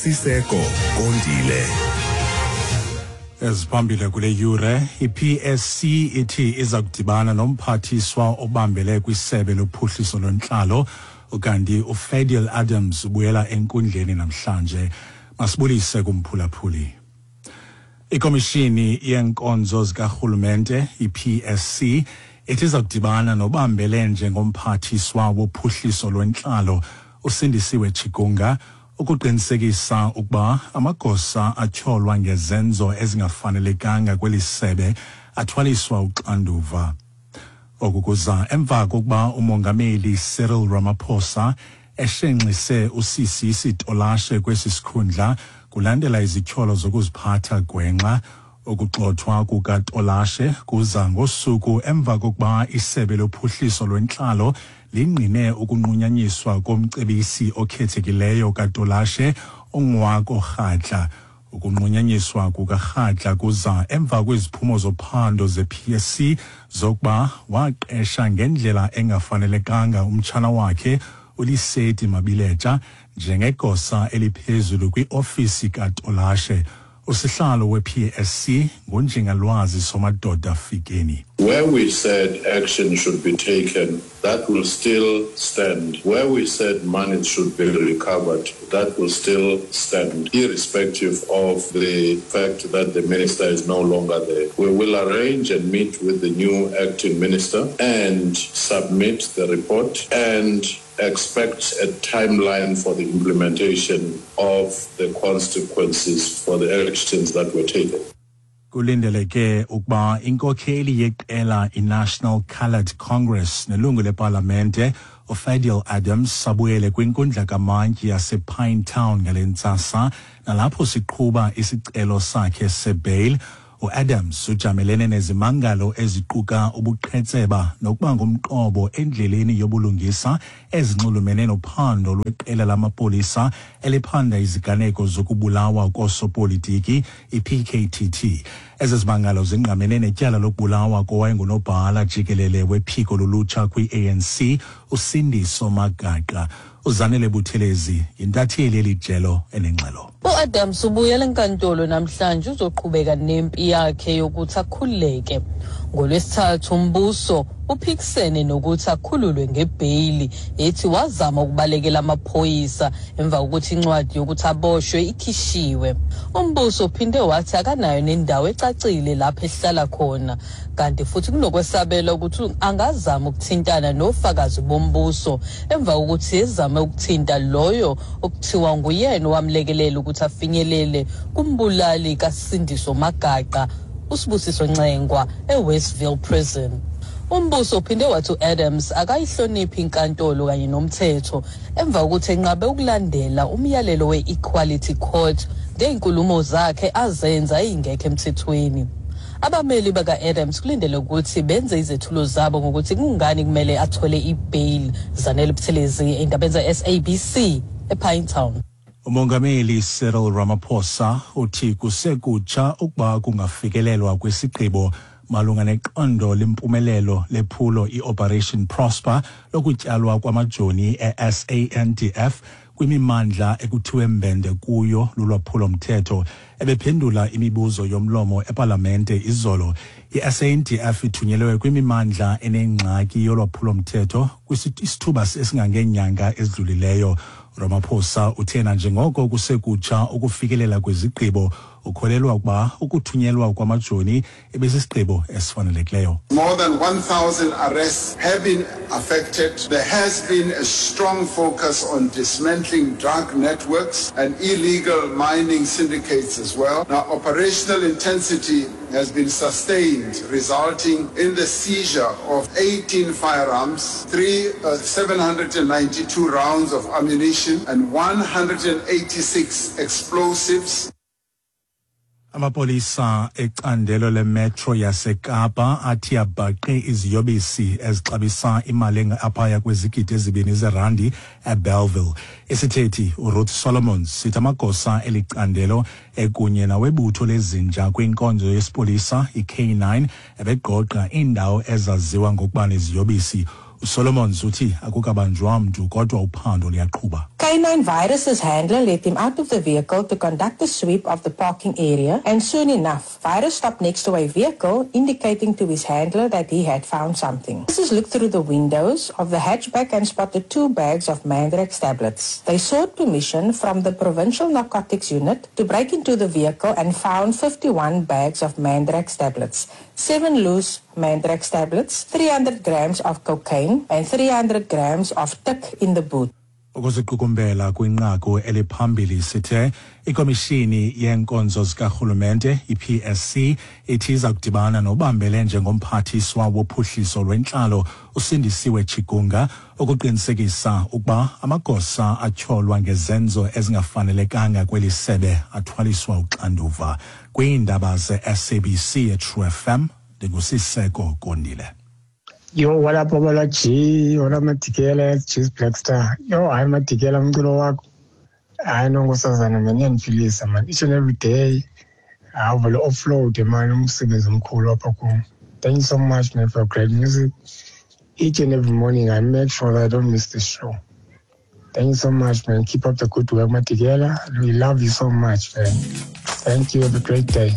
Siseko Kondile. Eziphambile kule yure, iPSC ithi iza kudibana nomphathiswa obambele kwisebe lophuhliso lwentlalo, ukanti uFadiel Adams ubuyela enkundleni namhlanje. Masibulise kumphulaphuli. Ikomishini yeenkonzo zikarhulumente iPSC ithi iza kudibana nobambele njengomphathiswa wophuhliso lwentlalo uSindisiwe Chikunga ukuqinisekisa ukuba amagosa atyholwa ngezenzo ezingafanelekanga kweli sebe athwaliswa uxanduva. Oku kuza emva kokuba uMongameli Cyril Ramaphosa eshenxise uSisi Tolashe kwesi sikhundla kulandela izityholo zokuziphatha gwenxa. Ukugxothwa kukaTolashe kuza ngosuku emva kokuba isebe lophuhliso lwentlalo lingqine ukunqunyanyiswa komcebisi okhethekileyo kaTolashe uNgwako Kgatla. Ukunqunyanyiswa kukaKgatla kuza emva kweziphumo zophando ze-PSC zokuba waqesha ngendlela engafanelekanga umtshana wakhe uLiseti Mabiletsha njengegosa eliphezulu kwiofisi kaTolashe. Usihlalo we-PSC nguNjingalwazi Somadoda Fikeni. Where we said action should be taken, that will still stand. Where we said money should be recovered, that will still stand, irrespective of the fact that the minister is no longer there. We will arrange and meet with the new acting minister and submit the report and expect a timeline for the implementation of the consequences for the actions that were taken. Kulindeleke ukuba inkokheli yeqela iNational Coloured Congress nelungu lepalamente uFadiel Adams abuyele kwinkundla kamantyi yasePine Town ngale ntsasa nalapho siqhuba isicelo sakhe sebail. UAdams ujamelene nezimangalo eziquka ubuqhetseba nokuba ngumqobo endleleni yobulungisa ezinxulumene nophando lweqela lamapolisa eliphanda iziganeko zokubulawa koosopolitiki iPKTT. Ezi zimangalo zingqamene netyala lokubulawa kowayengunobhala jikelele wephiko lolutsha kwi-ANC uSindiso Magaqa. Uzanele Buthelezi yintatheli elijelo enengxelo. U-Adams ubuyela enkantolo namhlanje uzoqhubeka nempi yakhe yokuthi akhululeke. NgoLwesithathu umbuso uphikisene nokuthi akhululwe ngebheyili ethi wazama ukubalekela amaphoyisa emva kokuthi incwadi yokuthi aboshwe ikhishiwe. Umbuso uphinde wathi akanayo nendawo ecacile lapho ehlala khona kanti futhi kunokwesabela ukuthi angazama ukuthintana nofakazi bombuso emva kokuthi ezame ukuthinta loyo okuthiwa nguyena owamlekelela ukuthi afinyelele kumbulali kaSindiso Magaqa uSibusiso Ncengwa eWestville Prison. Umbuso uphinde wathi u-Adams akayihloniphi inkantolo kanye nomthetho emva kokuthi enqabe ukulandela umyalelo we-Equality Court ngey'nkulumo zakhe azenza ey'ngekho emthethweni. Abameli baka-Adams kulindele ukuthi benze izethulo zabo ngokuthi kungani kumele athole ibail. Zanele Buthelezi endabeni ze-SABC ePinetown. Umongameli Cyril Ramaphosa uthi kusekutsha ukuba kungafikelelwa kwisigqibo malunga neqondo lempumelelo lephulo iOperation Prosper lokutyalwa kwamajoni e-SANDF kwimimandla ekuthiwe mbende kuyo lulwaphulo-mthetho. Ebephendula imibuzo yomlomo epalamente izolo. I-SANDF ithunyelwe kwimimandla enengxaki yolwaphulo-mthetho kwisithuba esingangeenyanga ezidlulileyo. Ramaphosa uthe nanjengoko kusekutsha ukufikelela kwizigqibo, ukholelwa ukuba ukuthunyelwa kwamajoni ebesisigqibo esifanelekileyo. More than 1,000 arrests have been affected. There has been a strong focus on dismantling drug networks and illegal mining syndicates as well. Now, operational intensity has been sustained, resulting in the seizure of 18 firearms, 792 rounds of ammunition, and 186 explosives. Amapolisa ecandelo lemetro yaseKapa athi abhaqe iziyobisi ezixabisa imali engaphaya kwezigidi ezibini zerandi eBellville. Isithethi uRuth Solomons sithi amagosa eli candelo ekunye nawebutho lezinja kwinkonzo yesipolisa iK9 ebegqogqa iindawo ezaziwa ngokuba neziyobisi. Usolomons uthi akukabanjwa mntu kodwa uphando luyaqhuba. K9 Virus's handler let him out of the vehicle to conduct a sweep of the parking area, and soon enough, Virus stopped next to a vehicle, indicating to his handler that he had found something. Officers looked through the windows of the hatchback and spotted 2 bags of Mandrax tablets. They sought permission from the Provincial Narcotics Unit to break into the vehicle and found 51 bags of Mandrax tablets, 7 loose Mandrax tablets, 300 grams of cocaine, and 300 grams of tik in the boot. Ukuziqukumbela kwinqaku eliphambili sithe ikomishini yeenkonzo zikarhulumente iPSC ithi iza kudibana nobambele njengomphathiswa wophuhliso lwentlalo uSindisiwe Chikunga ukuqinisekisa ukuba amagosa atyholwa ngezenzo ezingafanelekanga kweli sebe athwaliswa uxanduva. Kwiindaba ze-SABC eTrue FM, ndinguSiseko Kondile. Yo, what up, Babala G? What up, Matikela, Cheese Black Star? Yo, hayi Matikela, umculo wakho. Hayi nonkosazana, man, iyandiphilisa, man. Each and every day, awuvele offload, man, umsebenzi omkhulu apha kum. Thank you so much, man, for great music. Each and every morning, I make sure that I don't miss the show. Thank you so much, man. Keep up the good work, Matikela. We love you so much, man. Thank you. Have a great day.